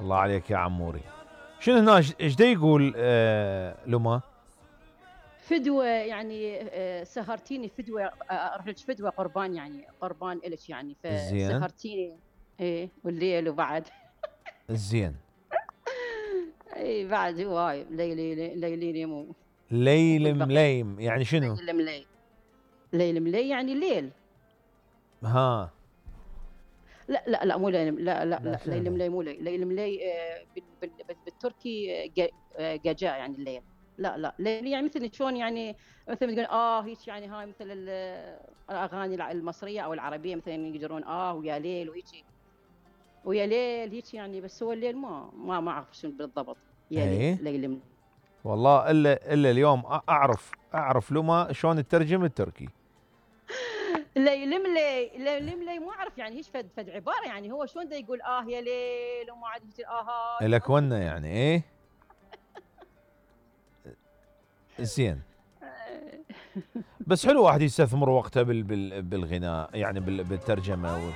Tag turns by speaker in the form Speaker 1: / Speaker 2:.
Speaker 1: الله عليك يا عموري. شنو هنا ايش دا يقول لما؟
Speaker 2: فدوة يعني سهرتيني فدوة، اروح لك فدوة قربان، يعني قربان الك يعني،
Speaker 1: زين
Speaker 2: فسهرتيني. ايه والليل وبعد.
Speaker 1: زين.
Speaker 2: اي بعد هواي ليلي ليلي مو
Speaker 1: ليل
Speaker 2: والبقية.
Speaker 1: مليم يعني شنو؟
Speaker 2: ليل ملي، ليل ملي يعني ليل.
Speaker 1: ها
Speaker 2: لا مو ليل،
Speaker 1: لا
Speaker 2: لا
Speaker 1: شنو
Speaker 2: ليل
Speaker 1: ليل؟
Speaker 2: ملي مو ليل، ليل ملي بالتركي جاجا يعني الليل. لا ليل يعني مثل شلون يعني، مثل ما تقول هيك يعني، هاي مثل الاغاني المصريه او العربيه مثلا يقدرون ويا ليل وهيك، ويا ليل هيك يعني. بس هو الليل ما اعرف شنو بالضبط. يا ليل
Speaker 1: اي
Speaker 2: ليل ملي.
Speaker 1: والله الا اليوم اعرف لما شلون تترجم التركي.
Speaker 2: ليل ملي، ليل ملي مو اعرف يعني هيك فد عباره يعني، هو شلون دا يقول يا ليل وما عاد هيك هاي
Speaker 1: لك ونه يعني ايه. زين. بس حلو واحد يستثمر وقته بالغناء يعني بالترجمة